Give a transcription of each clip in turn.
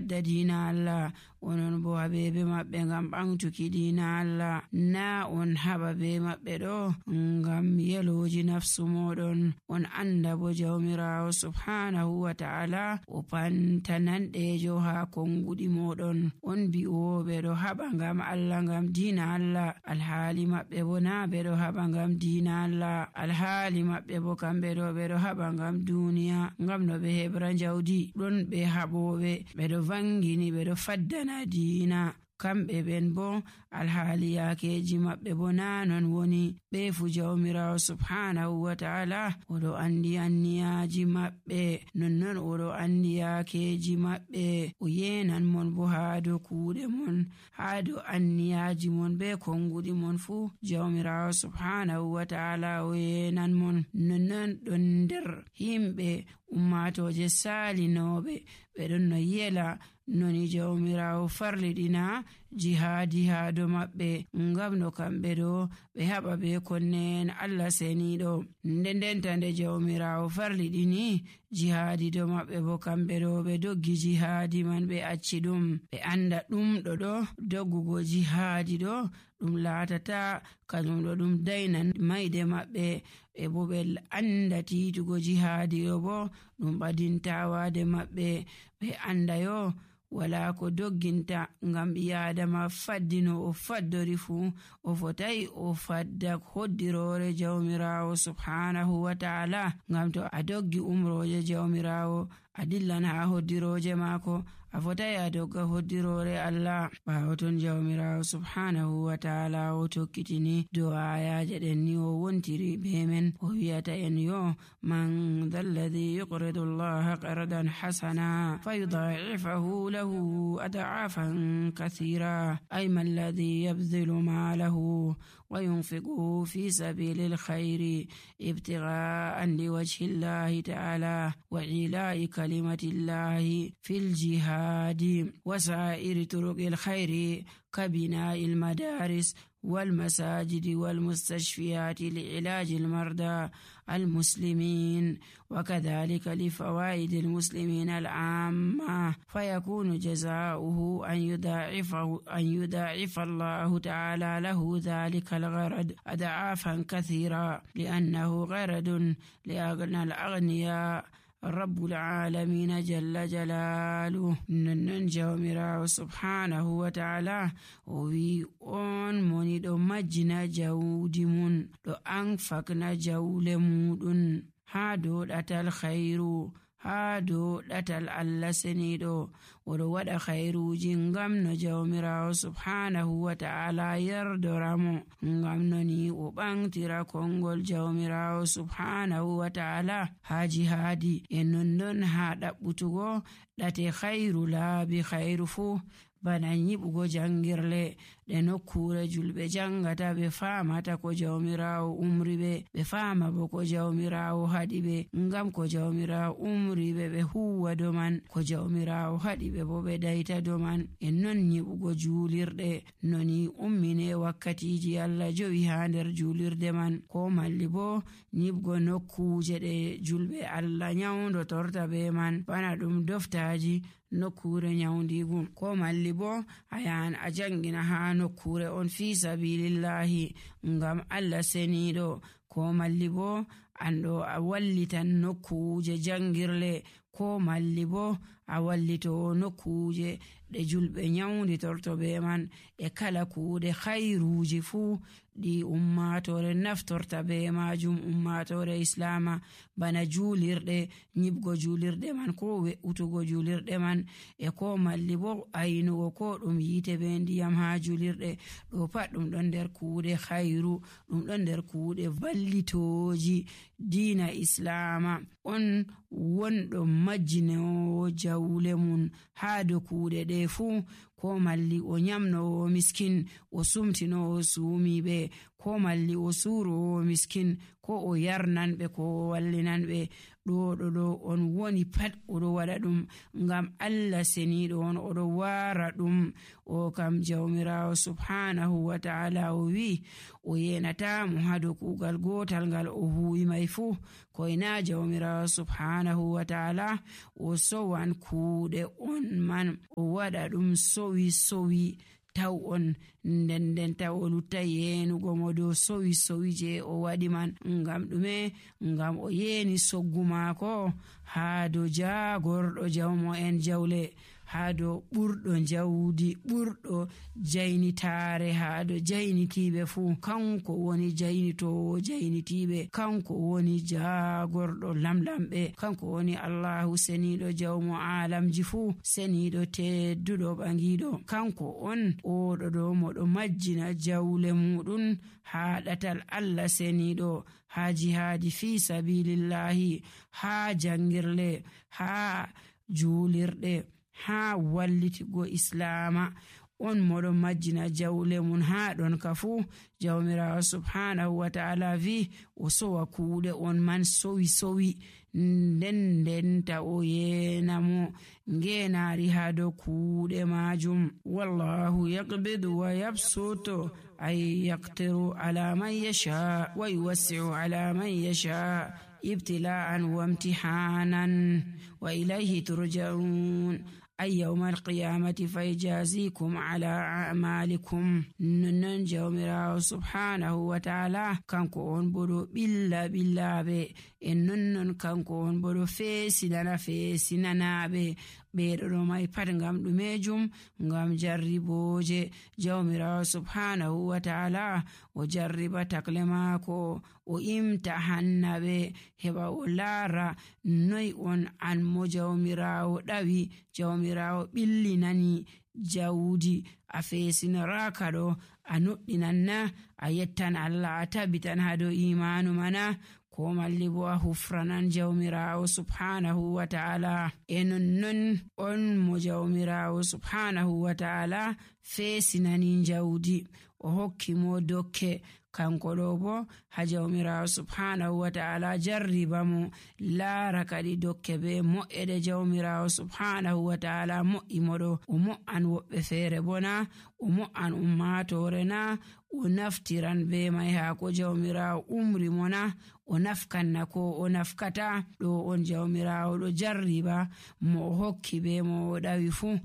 fadda diina Allah, onon bo haɓeɓe maɓɓe ngam ɓamtuki diina Allah. Na on haɓa be maɓɓe ɗo ngam yeloji nafsu moɗon. On anda bo jawmirawo subhanahu wa ta'ala o pantananɗejo ha konguɗi moɗon. On bi'oɓe ɗo haɓa ngam Allah, ngam diina Allah, alhaali maɓɓe bo na ɓe ɗo haɓa ngam diina Allah. Alhaali maɓɓe bo kamɓe ɗo ɓe ɗo haɓa ngam duniya, ngam no ɓe heɓra jawdi. Ɗon ɓe haɓoɓe ɓe ɗo vangini ɓe ɗo faddana diina, kamɓe ɓen bo alhaali yaakeji maɓɓe bo na non woni. Ɓe fu jawmirawo subhanahu wa ta'ala oɗo andi anniyaji maɓɓe, nonnon oɗo andi yaakeji maɓɓe. O yenan mon bo haa dow kuuɗe mon, haa dow anniyaji mon be konguɗi mon fu jawmirawo subhanahu wa ta'ala o yenan mon. Nonnon ɗon nder himɓe ummatoje salinoɓe ɓe ɗon no yela noni jawmirawo farliɗina jihadi haa dow maɓɓe, ngam no kamɓe ɗo ɓe haɓa be konnen Allah seniɗo. Ndendenta nde jawmirawo farliɗini jihadi dow maɓɓe bo kamɓe ɗo ɓe doggi jihadi man ɓe acci ɗum. Ɓe anda ɗum ɗo doggugo jihadi ɗo ɗum laatata kanjum ɗo ɗum dainan mayde maɓɓe, ɓe bo ɓe anda titugo jihadi ɗo bo ɗum ɓadintawade maɓɓe. Ɓe anda yo wala ko dogginta ngam ɓi'adama faddino o faddori fu o fotai o fadda hoddirore jawmirawo subhanahu wa ta'ala. Ngam to a doggi umroje jawmirawo a dillan ha hoddiroje maako, a fotai a dogga hoddirore Allah. Ɓawo ton jawmirawo subhanahu wa ta'ala o tokkitini dow ayaje ɗen ni o wontiri be men, o wiyata en yo man dhal ladhi yuqridu Allah qardan hasana fayudha'ifahu lahu ad'afan kathira, ay man ladhi yabdhilu malahu wa yunfiquhu fi sabilil khairi ibtigha'an liwajhi Allah ta'ala wa ila'i kalimatillahi fil jihadi wa sa'iri turuqil khairi كبناء المدارس والمساجد والمستشفيات لعلاج المرضى المسلمين، وكذلك لفوائد المسلمين العامة، فيكون جزاؤه أن يضاعف الله تعالى له ذلك الغرض أضعافا كثيرة، لأنه غرض لأغنى الأغنياء رب العالمين جل جلاله. ننن جawmirawo subhanahu wa ta'ala o wi on moni ɗo majjina jawdi mun, ɗo anfakna jawle muɗum haa dow ɗatal khairu, haa dow ɗatal Allah seniɗo. Oɗo waɗa khairuji ngam no jawmirawo subhanahu wa ta'ala yardoramo, ngam noni o ɓantira kongol jawmirawo subhanahu wa ta'ala haa jihadi, e nonnon haa ɗaɓɓutugo ɗate khairu laabi khairu fu, bana nyiɓugo jangirle ɗe nokkure julɓe jangata ɓe famata ko jawmirawo umri ɓe fama bo ko jawmirawo haɗi ɓe, ngam ko jawmirawo umri ɓe huwa do man, ko jawmirawo haɗi ɓe bo ɓe dayta do man. En non nyiɓugo julirɗe noni ummine wakkatiji Allah jowi ha nder julirde man, ko malli bo nyiɓugo nokkuje ɗe julɓe Allah nyawdo torta be man, bana ɗum doftaji nokkure nyawndigu, ko malli bo a yahan a jangina ha nokkure on fi sabilillahi ngam Allah seniɗo, ko malli bo anɗo a wallitan nokkuje jangirle, ko malli bo a wallito nokkuje ɗe julɓe nyawdi torto be man, e kala kuuɗe khairuji fuu ɗi ummatore naftorta be majum, ummatore islama, bana julirɗe, nyibgo julirɗe man ko we'utugo julirɗe man, e ko malli bo aynugo ko ɗum yite be ndiyam ha julirɗe. ɗo pat ɗum ɗon nder kuuɗe khairu, ɗum ɗon nder kuuɗe vallitoji diina islama. On wonɗo majjinowo jawle mun ha dow kuuɗe ɗe fuu, ko malli o nyamnowo miskin, o sumtinowo suumiɓe, ko malli o suuro miskin ko o yarnanɓe ko o wallinanɓe. ɗo on woni pat oɗo waɗa ɗum ngam Allah seniɗo on, oɗo wara ɗum. o kam jawmirawo subhanahu wa ta'ala o wi o yenatamo hado kugal gotal ngal o huwi mai fu, koyna jawmirawo subhanahu wa ta'ala o sowan kuuɗe on man o waɗa ɗum sowi taw on nden taw o lutta yenugo mo dow sowi je o waɗi man. ngam ɗume? ngam o yeni soggu maako haa dow jagorɗo jawmo en jawle, haa dow ɓurɗo jawdi, ɓurɗo jaynitare, haa dow jaynitiɓe fuu. kanko woni jaynitowo jaynitiɓe, kanko woni jagorɗo lamlamɓe, kanko woni Allahu seniɗo jawmo alamji fuu, seniɗo tedduɗo ɓangiɗo. kanko on oɗo ɗo moɗo majjina jawle muɗum haa ɗatal Allah seniɗo, haa jihadi fi sabilillahi, haa jangirle, haa julirɗe, haa wallitigo islama. on moɗo majjina jawle mun haa ɗon ka fuu. jawmirawo subhanahu wa ta'ala vi o sowa kuuɗe on man sowi nden ta o yenamo ngenari haa dow kuuɗe majum. wallahu yaqbidu wa yabsutu ay yaqtiru ala man yasha wa yuwassi'u ala man yasha ibtila'an wa imtihanan wa ilayhi turja'un. ay yawmal qiyamati fayjazikum ala a'malikum. non jawmirawo subhanahu wa ta'ala kanko on boɗo ɓilla ɓillaɓe, en non kanko on boɗo feesinanaɓe. ɓeɗo ɗo mai pat ngam ɗumejum, ngam jarriboje. jawmirawo subhanahu wa ta'ala o jarriba takle maako, o imtahannaɓe heɓa o laara noy on an mo jawmirawo ɗawi, jawmirawo ɓillinani jawdi, a feesinaraka ɗo, a nuɗɗinanna, a yettan Allah, a tabitan hado imanu mana, ko malli bo a hufranan jawmirawo subhanahu wa ta'ala. non on mo jawmirawo subhanahu wa ta'ala feesinani jawdi, o hokki mo dokke. kanko ɗo bo ha jawmirawo subhanahu wa ta'ala jarriba mo, laara kadi dokke be mo'ede jawmirawo subhanahu wa ta'ala mo'i moɗo. o mo'an woɓɓe feere bona, o mo'an ummatore na, o naftiran be mai haa ko jawmirawo umri mo na, o nafkanna ko o nafkata. ɗo on jawmirawo ɗo jarriba mo o hokki be mo o ɗawi fuu.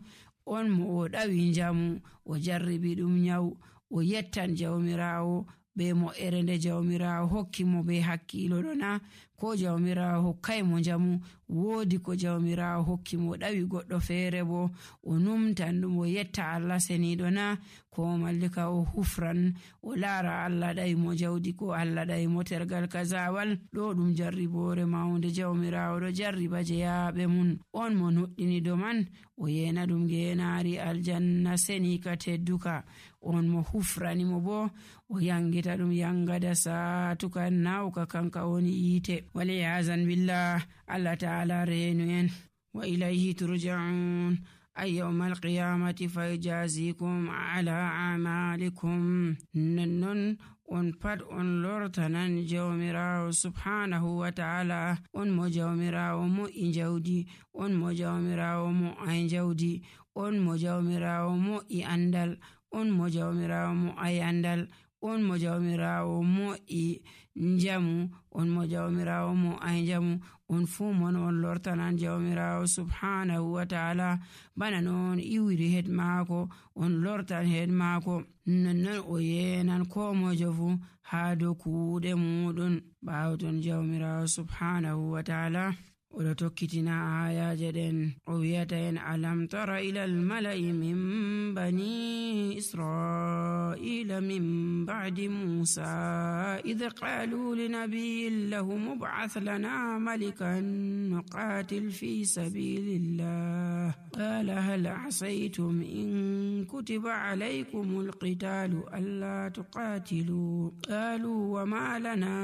on mo o ɗawi njamu, o jarribi ɗum nyawu, o yettan jawmirawo be mo erende jawmirawo hokki mo be hakkilo ɗo na, ko jawmirawo hokkai mo njamu, woodi ko jawmirawo hokki mo ɗawi goɗɗo feere bo o numtan ɗum, o yetta Allah seniɗo na, ko mallika o hufran, o laara Allah ɗawi mo jawdi, ko Allah ɗawi mo tergal kazawal. ɗo ɗum jarribore mawnde jawmirawo ɗo jarriba jeyaɓe mun. on mo nuɗɗini do man, o yena ɗum genari aljanna seni ka tedduka. on mo hufrani mo bo, o yangita ɗum yangada satuka nawka kanka woni yiite. waliyazan billah, Allah ta'ala reenu en. wa ilayhi turja'un. ay yawmal qiyamati fayjazikum ala a'malikum. non on pat on lortanan jawmirawo subhanahu wa ta'ala. on mo jawmirawo mo'i jawdi, on mo jawmirawo mo'ay jawdi, on mo jawmirawo mo'i andal, on mo jawmirawo mo'ay andal, on mo jawmirawo mo'i njamu, on mo jawmirawo mo'ay njamu. on fuu mon on lortanan jawmirawo subhanahu wa ta'ala bana non iwiri hed maako, on lortan hed maako. non o yenan ko mojo fu haa dow kuuɗe muɗum. ɓaawton jawmirawo subhanahu wa ta'ala oɗo tokkitina ayaje ɗen, o wiyata en alam tara ila almala'i min bani israila min ba'di musa idh qalu linabiyyin lahum ib'ath lana malikan nuqatil fi sabilillah qala hal asaytum in kutiba alaykumul qitalu alla tuqatilu qalu wama lana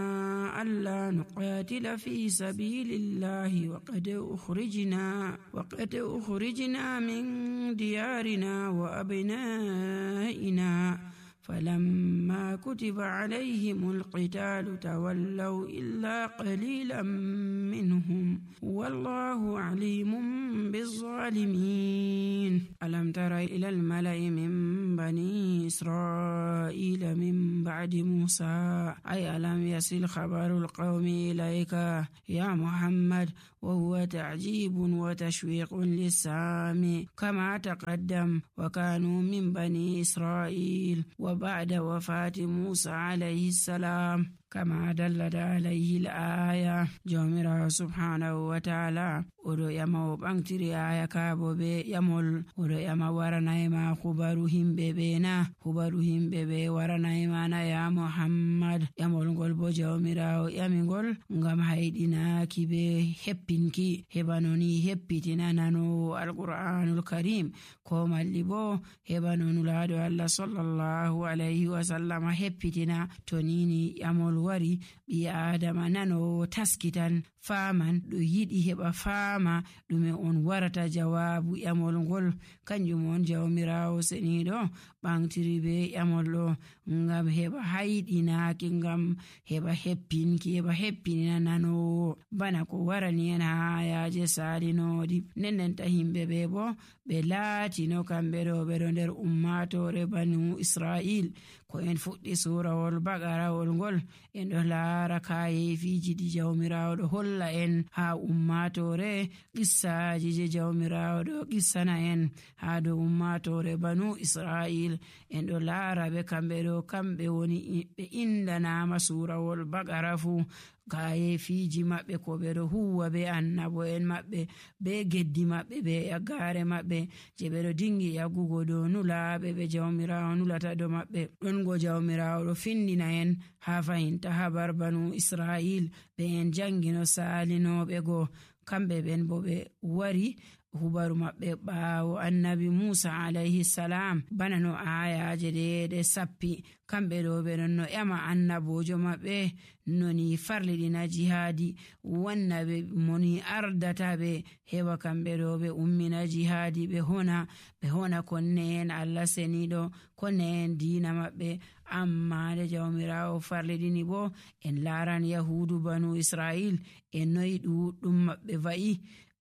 alla nuqatila fi sabilillah وقد أخرجنا من ديارنا وأبنائنا فلما كتب عليهم القتال تولوا إلا قليلا منهم والله عليم بالظالمين ألم تر إلى الملأ من بني إسرائيل من بعد موسى أي ألم يصل خبر القوم إليك يا محمد وهو تعجيب وتشويق للسامع كما تقدم وكانوا من بني إسرائيل وبعد وفاة موسى عليه السلام كما دلت عليه الآية جومرا سبحانه وتعالى oɗo ƴama o ɓantiri aya kaabo be ƴamol oɗo ƴama waranayma hubaru himɓe ɓe na hubaru himɓe ɓe waranayma na ya Muhammad ƴamol ngol bo jawmirawo ƴamigol ngam hayɗinaki be heppinki heɓa noni heppitina nanowo alqur'anul karim ko malli bo heɓa nonulaɗo Allah sallallahu alayhi wa sallam heppitina to nini ƴamol wari ɓi adama nanowo taskitan faman ɗo yiɗi heɓa faama ɗume on warata jawabu ƴamol ngol kanjum on jawmirawo seniɗo ɓantiri be ƴamol ɗo ngam heɓa hayɗinaki ngam heɓa heppinki heɓa heppinina nanowo bana ko warani en ha ayaje salinoɗi nendenta himɓe ɓe bo ɓe laatino kamɓe ɗo ɓeɗo nder ummatore banu Israil ko en fuɗɗi surawol baqarawol ngol en ɗo laara kayefiji ɗi jawmirawo ɗo holla en ha ummatore qissaji je jawmirawo ɗo qissana en ha dow ummatore banu Israil en ɗo laara ɓe kamɓe ɗo kamɓe woni ɓe indanama surawol baqara fu kayefiji maɓɓe ko ɓe ɗo huwa be annabo en maɓɓe be geddi maɓɓe be yaggare maɓɓe je ɓe ɗo dingi yaggugo dow nulaɓe ɓe jawmirawo nulata do maɓɓe ɗon go jawmirawo ɗo findina en ha fahinta habar banu Israil ɓe en jangino salinoɓe go kamɓe ɓen bo ɓe wari hubaru maɓɓe ɓaawo annabi Musa alayhi salam bana no ayaje ɗe sappi kamɓe ɗo ɓe ɗon no ƴama annabojo maɓɓe noni farliɗina jihadi wanna ɓe moni ardata ɓe heɓa kamɓe ɗo ɓe ummina jihadi ɓe hona konne en Allah seniɗo konne en dina maɓɓe amma nde jawmirawo farliɗini bo en laran yahudu banu Israil en noyi ɗuɗɗum maɓɓe va'i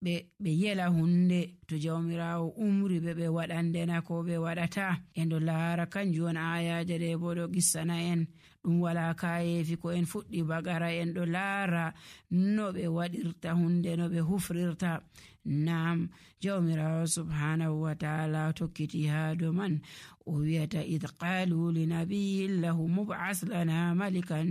ɓe yela hunde to jawmirawo umri ɓe waɗandena ko ɓe waɗata en ɗo laara kanjum on ayaje ɗe bo ɗo qissana en ɗum wala kayefi ko en fuɗɗi bagara en ɗo laara no ɓe waɗirta hunde no ɓe hufrirta nam jawmirawo subhanahu wa ta'ala tokkiti ha do man o wiyata id qalu li nabiyyin lahu mub'as lana malikan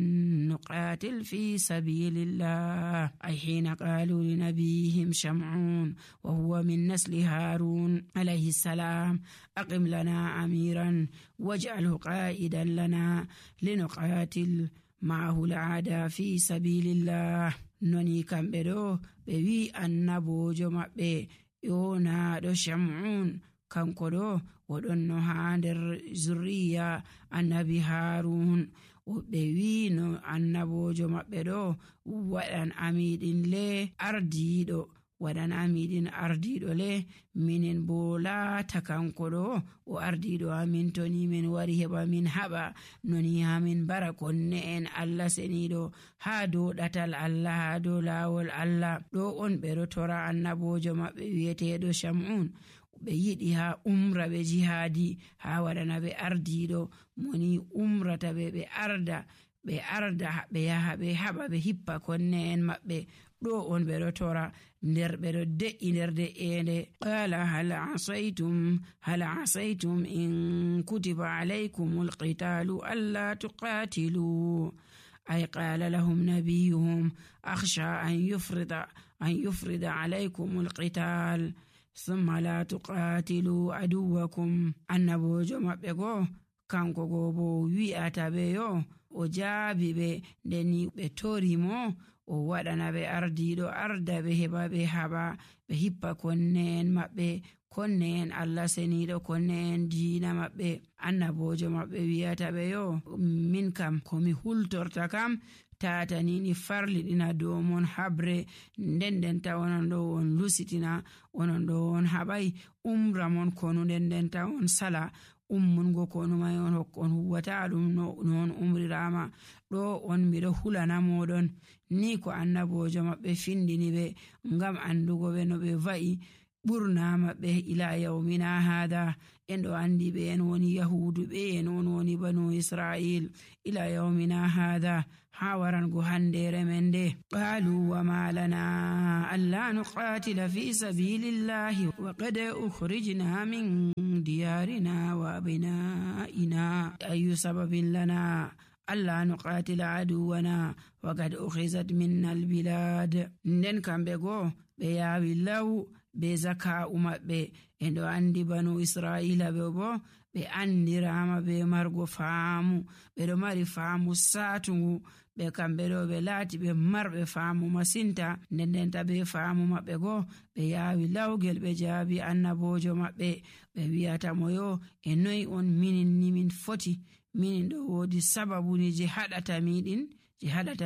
nuqatil fi sabilillah ay hina qalu li nabiyhim sham'un wa huwa min nasli harun alayhi salam aqim lana amiran waj'alhu qa'idan lana linuqatil ma'ahu al'ada fi sabilillah noni kamɓe ɗo ɓe wi annabojo maɓɓe yonaɗo Sham'un kanko ɗo oɗon no ha nder zurriya annabi Harun ɓe wi no annabojo maɓɓe ɗo waɗan amiɗin le ardiɗo waɗan amiɗin ardiɗo le minin bo laata kanko ɗo o ardiɗo amin to ni min wari heɓa min haɓa noni hamin bara konne en Allah seniɗo ha dow ɗatal Allah ha dow lawol Allah ɗo on ɓe ɗo tora annabojo maɓɓe wiyeteɗo Sham'un ɓe yiɗi ha umra ɓe jihadi ha waɗana ɓe ardiɗo moni umrata ɓe arda ɓe yaha ɓe haɓa ɓe hippa konne en maɓɓe ɗo on ɓe ɗo tora nder ɓe ɗo de'i nder de'ende qala hal asaytum in kutiba alaykumul qitalu alla tuqatilu ay qala lahum nabiyuhum akhsha an yufrida alaykumul qital thumma la tuqatilu aduwakum annabojo maɓɓe go kanko go bo wi'ata ɓe yo o jaabi ɓe ndeni ɓe tori mo o waɗana ɓe ardiɗo arda ɓe heɓa ɓe haɓa ɓe hippa konne en maɓɓe konne en Allah seniɗo konne en diina maɓɓe annabojo maɓɓe wiyata ɓe yo min kam komi hultorta kam tatani ni farliɗina dow mon habre ndendenta onon ɗo on lusitina onon ɗo on haɓai umra mon konu ndendenta on sala ummungo konu may on hokkon huwata ɗum non umrirama ɗo on miɗo hulana moɗon. Ni ko annabojo maɓɓe findini ɓe ngam andugo ɓe no ɓe va'i ɓurna maɓɓe ila yawmina hada. En ɗo andi ɓe en woni yahudu, ɓe en on woni banu israil ila yawmina hada ha warango handere men nde. qalu wa ma lana alla nuqatila fi sabilillahi wa qad ukhrijna min diyarina wa abnaina ayu sababin lana alla nuqatila aduwana wa qad ukhizat minna albilad. Nden kamɓe go ɓe yawi law be zaka'u maɓɓe. En ɗo andi banu israila ɓe bo ɓe andirama be margo faamu, ɓe ɗo mari faamu satungu. Ɓe kamɓe ɗo ɓe laati ɓe marɓe faamu masinta. Ndendenta be faamu maɓɓe go ɓe yawi lawgel ɓe jaabi annabojo maɓɓe. Ɓe wiyata mo yo e noy on minin ni min foti, minin ɗo wodi sababuni je haɗata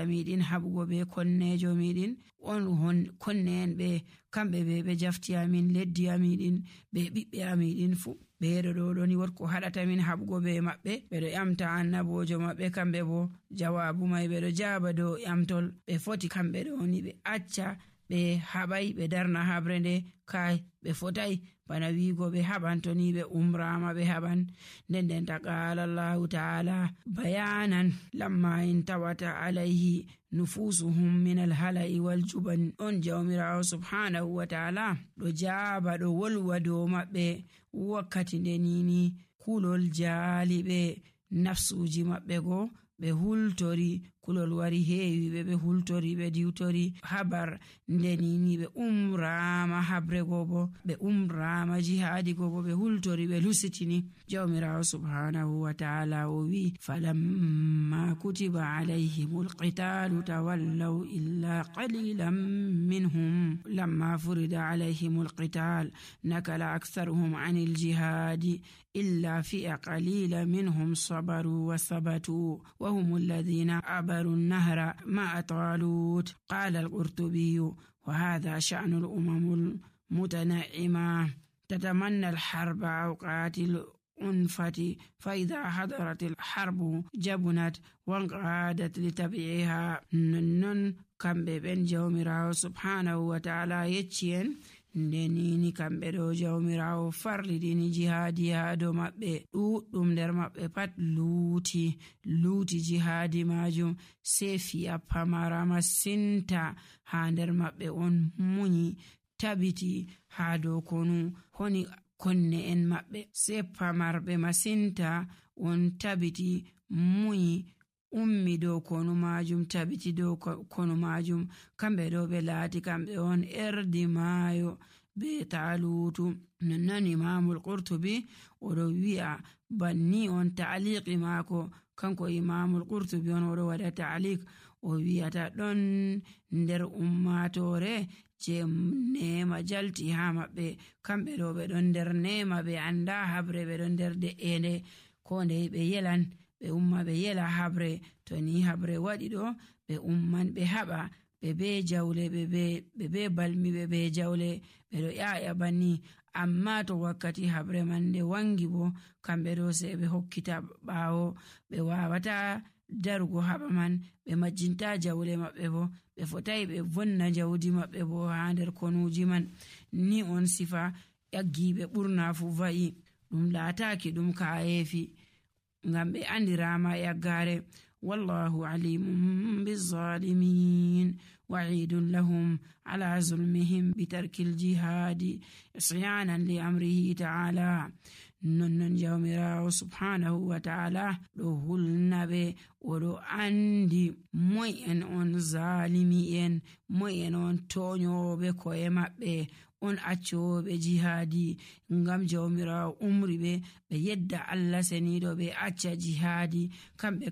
miɗin haɓugo be konnejo miɗin. On konne en ɓe kamɓe ɓe jafti amin leddi amiɗin be ɓiɓɓe amiɗin fu. ɓeeɗo ɗo ɗoni wot ko haɗata min haɓugo be maɓɓe. ɓeɗo ƴamta annabojo maɓɓe, kamɓe bo jawabu mai ɓeɗo jaba dow ƴamtol. ɓe foti kamɓe ɗoni ɓe acca ɓe haɓai ɓe darna habre nde. kai ɓe fotai bana wigo ɓe haɓan to ni ɓe umrama ɓe haɓan. Nden qala Allahu ta'ala bayanan lamma in tawata alayhi nufusuhum min alhala'i wal juban. on jawmirawo subhanahu wa ta'ala ɗo jaba ɗo wolwa dow maɓɓe wakkati nde nini kulol jaali ɓe nafsuji maɓɓe go ɓe hultori. kulol wari heewi ɓe hultori ɓe diwtori habar nde nini ɓe umrama habre go bo ɓe umrama jihadi go bo ɓe hultori ɓe lusitini. jawmirawo subhanahu wa ta'ala o wi falamma kutiba alayhimul qitalu tawallaw illa qalilan minhum lamma furida alayhimul qital nakala aktharuhum anil jihadi illa fi'a qalila minhum sabaru wa sabatu wa humul ladhina النهر مع طالوت. قال القرطبي وهذا شأن الأمم المتنعمة تتمنى الحرب أوقات الأنفة فإذا حضرت الحرب جبنت وانقادت لتبعها. نن كم بين جومراو سبحانه وتعالى يتشين ndenini kamɓe ɗo jawmirawo farlidini jihadi ha dow maɓɓe. ɗuɗɗum nder maɓɓe pat luuti jihadi majum, sei fi'a pamara masinta ha nder maɓɓe on munyi tabiti ha dow konu honi konne en maɓɓe. sei pamarɓe masinta on tabiti munyi ummi dow konu majum, tabiti dow konu majum. kamɓe ɗo ɓe laati kamɓe on erdi maayo be talutu. nonnon imamul qurtubi oɗo wi'a banni on ta'liqi maako. kanko imamul qurtubi on oɗo waɗa ta'liq, o wi'ata ɗon nder ummatore je nema jalti ha maɓɓe. kamɓe ɗo ɓe ɗon nder nema, ɓe anda habre, ɓe ɗon nder de'ende ko ndei ɓe yelan ɓe umma ɓe yela habre. to ni habre waɗi ɗo ɓe umman ɓe haɓa ɓe be jawle, ɓe be balmi, ɓe be jawle, ɓe ɗo ƴaƴa banni. amma to wakkati habre man nde wangi bo kamɓe ɗo sei ɓe hokkita ɓaawo, ɓe wawata darugo haɓa man, ɓe majjinta jawle maɓɓe bo, ɓe fotai ɓe vonna jawdi maɓɓe bo ha nder konuji man. ni on sifa ƴaggiɓe ɓurna fu va'i, ɗum laataki ɗum kayefi ngam ɓe andirama yaggare. wallahu alimun bizzalimin wa'idun lahum ala zulmihim bitarkil jihadi isyanan li amrihi ta'ala. nonnon jawmirawo subhanahu wa ta'ala ɗo hulna ɓe, oɗo andi moy en on zalimi en, moy en on toñoɓe ko'e maɓɓe, on accoɓe jihadi. ngam jawmirawo umri ɓe yedda Allah seniɗo ɓe acca jihadi.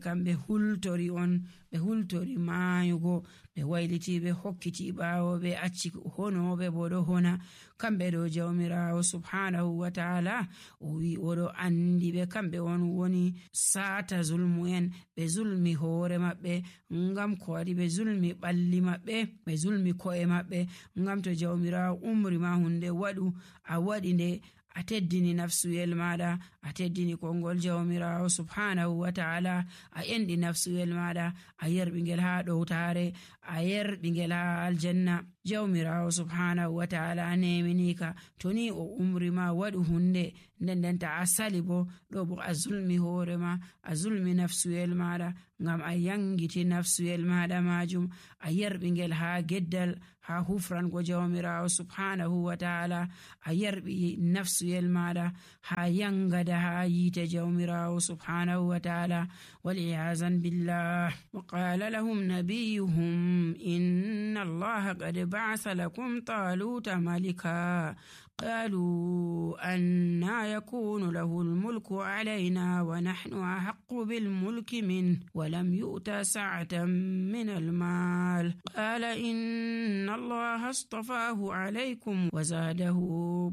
kamɓe hultori on, ɓe hultori mayugo, ɓe wayliti ɓe hokkiti ɓawo, ɓe acci honoɓe bo ɗo hona. kamɓe ɗo jawmirawo subhanahu wa ta'ala o wi oɗo andi ɓe kamɓe on woni sata zulmu en. ɓe zulmi hoore maɓɓe ngam ko waɗi ɓe zulmi ɓalli maɓɓe, ɓe zulmi ko'e maɓɓe. ngam to jawmirawo umri ma hunde waɗu a waɗi nde a teddini nafsuyel maɗa, a teddini kongol jawmirawo subhanahu wa ta'ala, a enɗi nafsuyel maɗa, a yerɓingel ha ɗowtare, a yerɓingel ha aljanna. jawmirawo subhanahu wa ta'ala neminika to ni o umri ma waɗu hunde nden ta a sali bo ɗo bo a zulmi hoorema, a zulmi nafsuyel maɗa, ngam a yangiti nafsuyel maɗa majum, a yerɓingel ha geddal, ha hufrango jawmirawo subhanahu wa ta'ala, a yerɓi nafsuyel maɗa ha yangada ha yite jawmirawo subhanahu wa ta'ala. wal'iyazan billah. wa qala lahum nabiyuhum inna allaha qad ba'atha lakum taluta malika قالوا أنا يكون له الملك علينا ونحن أحق بالملك منه ولم يؤت سعة من المال قال إن الله اصطفاه عليكم وزاده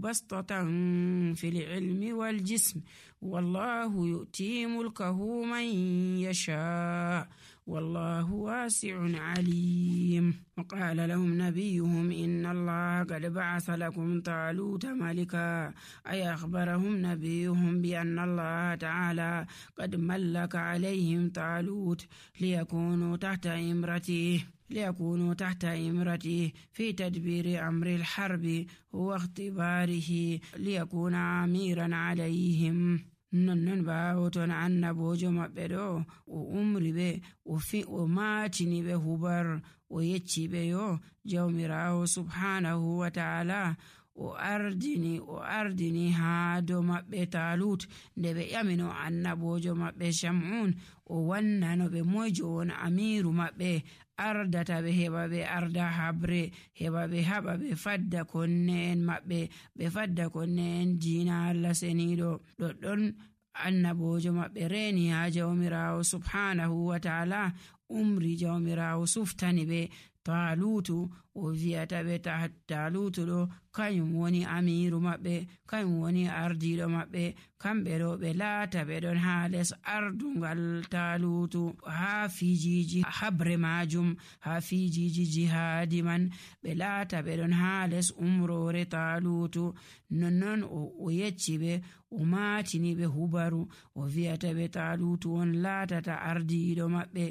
بسطة في العلم والجسم والله يؤتي ملكه من يشاء والله واسع عليم. وقال لهم نبيهم إن الله قد بعث لكم طالوت ملكا أي أخبرهم نبيهم بأن الله تعالى قد ملك عليهم طالوت ليكونوا تحت إمرته في تدبير أمر الحرب واختباره ليكون أميرا عليهم. non bawo ton annabojo maɓɓe ɗo o umri ɓe o matini ɓe hubar o yecci ɓe yo jawmirawo subhanahu wa ta'ala o ardini ha do maɓɓe talut nde ɓe ƴamino annabojo maɓɓe shamun o wannano ɓe moyjo won amiru maɓɓe ardata ɓe heɓa ɓe arda habre, heɓa ɓe haɓa ɓe fadda konne en maɓɓe, ɓe fadda konne en diina Allah seniɗo. ɗoɗɗon annabojo maɓɓe reni ha jawmirawo subhanahu wa ta'ala umri jawmirawo suftani ɓe talutu o viyata ɓe talutu ɗo kanyum woni amiru maɓɓe, kanyum woni ardiɗo maɓɓe, kamɓe ɗo ɓe laata ɓe ɗon ha les ardungal talutu ha fijiji habre majum, ha fijiji jihadi man ɓe laata ɓe ɗon ha les umrore talutu. nonnon o yecci ɓe o matini ɓe hubaru o viyata ɓe talutu on laatata ardiɗo maɓɓe.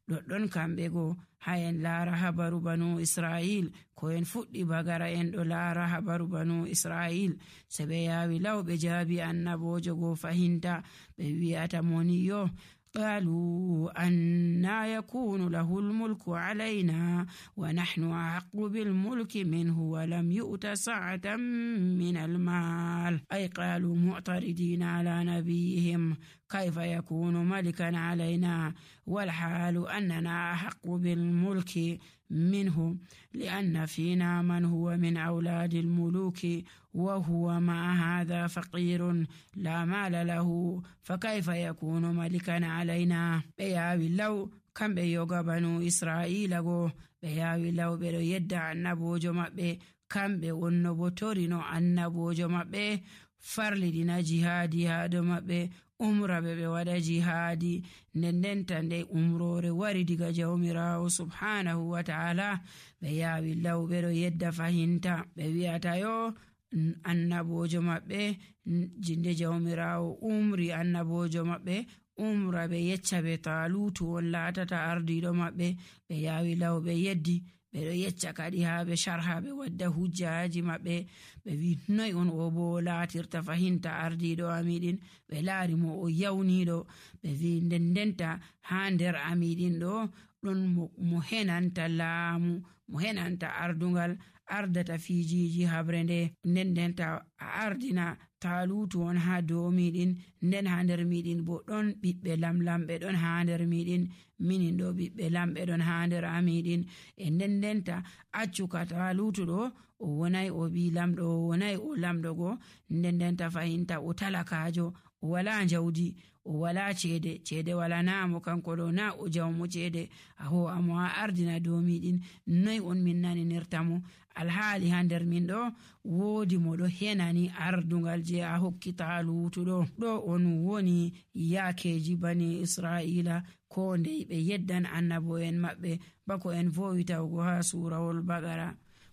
ɗoɗɗon kamɓe go ha en laara habaru banu Israil ko en fuɗɗi bagara en ɗo laara habaru banu Israil se ɓe yawi law ɓe jaabi annabojo go fahinta ɓe wi'ata moni yo قالوا أنا يكون له الملك علينا ونحن أحق بالملك منه ولم يؤت سعة من المال أي قالوا معترضين على نبيهم كيف يكون ملكا علينا والحال أننا أحق بالملك منه لأن فينا من هو من أولاد الملوك وهو مع هذا فقير لا مال له فكيف يكون ملكا علينا. بياوي لو كم بيوغا بنو إسرائيل go بياوي لو بيرو يدع النبوجو مبه كم بيونو بطورينو النبوجو مبه farlidina jihadi ha do maɓɓe umra ɓe waɗa jihadi ndendenta nde umrore wari diga jawmirawo subhanahu wa ta'ala ɓe yawi law ɓe ɗo yedda fahinta ɓe wi'ata yo annabojo maɓɓe jinde jawmirawo umri annabojo maɓɓe umra ɓe yecca ɓe talutu on laatata ardiɗo maɓɓe ɓe yawi law ɓe yeddi ɓe ɗo yecca kadi ha ɓe sharha ɓe wadda hujjaji maɓɓe ɓe wi noy on o bo laatirta fahinta ardiɗo amiɗin ɓe laari mo o yawniɗo ɓe wi ndendenta ha nder amiɗin ɗo ɗon mo henanta laamu mo henanta ardungal ardata fijiji habre nde ndendenta a ardina talutu on ha dow miɗin nden ha nder miɗin bo ɗon ɓiɓɓe lamlamɓe ɗon ha nder miɗin minin ɗo ɓiɓɓe lamɓe ɗon ha nder amiɗin e ndendenta accuka talutu ɗo o wonai o ɓi lamɗo o wonai o lamɗo go ndendenta fahinta o talakajo o wala jawdi o wala ceede wala namo kanko ɗo na o jawmo ceede a ho amo a ardina dow miɗin noy on min nani nirtamo alhaali ha nder min ɗo woodi mo ɗo henani ardungal je a hokki talutu ɗo on woni yakeji bani Israila ko ndey ɓe yeddan annabo en maɓɓe bako en vowitawgo ha surawol Bagara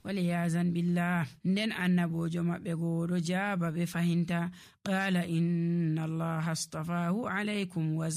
waliyazan billah. Nden annabojo maɓɓe goɗo jaaba ɓe fahinta. Qala inna allaha astafahu alaykum wa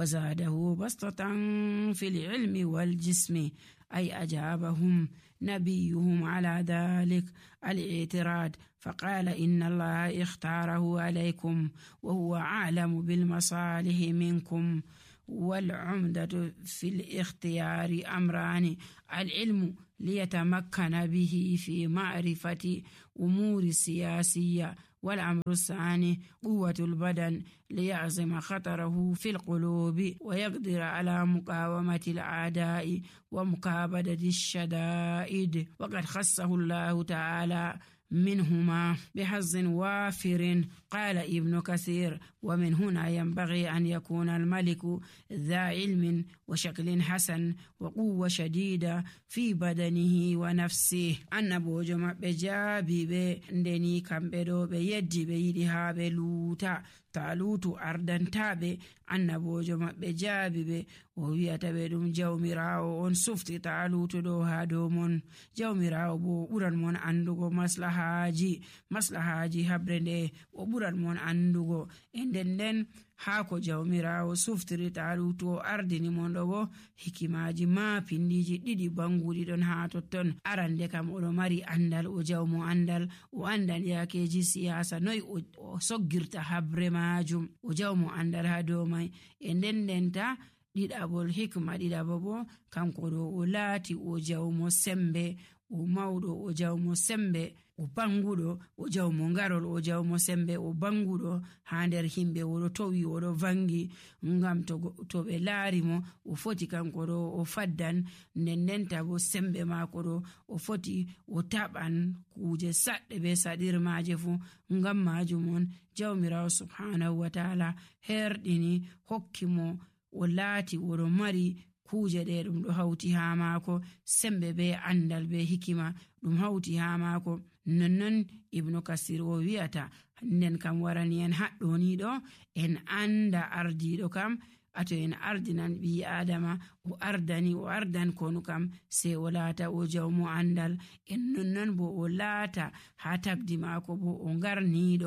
zadahu bastatan fil ilmi wal jismi. أي أجابهم نبيهم على ذلك الاعتراض فقال إن الله اختاره عليكم وهو أعلم بالمصالح منكم. والعمدة في الاختيار أمران: العلم ليتمكن به في معرفة أمور سياسية، والأمر الثاني قوة البدن ليعزم خطره في القلوب ويقدر على مقاومة الأعداء ومكابدة الشدائد. وقد خصه الله تعالى منهما بحظ وافر. قال ابن كثير: ومن هنا ينبغي أن يكون الملك ذا علم وشكل حسن وقوة شديدة في بدنه ونفسه. annabojo maɓɓe jaabi ɓe ndeni kamɓe ɗo ɓe yeddi ɓe yiɗi haa ɓe luuta. Talutu ardantaɓe, annabojo maɓɓe jaabi ɓe o wi'ata ɓe ɗum jawmirawo on sufti Talutu ɗo haa dow mon. Jawmirawo bo ɓuran mon andugo maslahaji habre nde, o ɓuran mon andugo. E nden haa ko jawmirawo suftiri Talutu o ardini mon ɗo bo hikimaji ma pindiji ɗiɗi banguɗi ɗon haa totton. Arande kam oɗo mari andal, o jawmo andal, o andan yakeji siyasa noy o soggirta habre majum, o jawmo andal haa dow mai. E ndendenta ɗiɗabol hikma ɗiɗabo bo kanko ɗo o laati o jawmo sembe, o mawɗo o jawmo sembe, o banguɗo o jawmo ngarol, o jawmo sembe, o banguɗo haa nder himɓe, oɗo towi oɗo vangi. Ngam to ɓe laari mo o foti kanko ɗo o faddan, ndendenta bo sembe maako ɗo o foti o taɓan kuje saɗɗe be saɗirmaje fu. Ngam majum on jawmirawo subhanahu wa ta'ala herɗini hokki mo o laati oɗo mari kuje ɗe ɗum ɗo hawti haa maako, sembe be andal be hikima ɗum hawti haa maako. Nonnon ibnu kasir o wi'ata nden kam warani en haɗɗoniɗo en anda ardiɗo kam, ato en ardinan ɓi adama o ardan konu kam sai o laata o jawmo andal. En nonnon bo o laata haa tagdi maako bo o ngarniɗo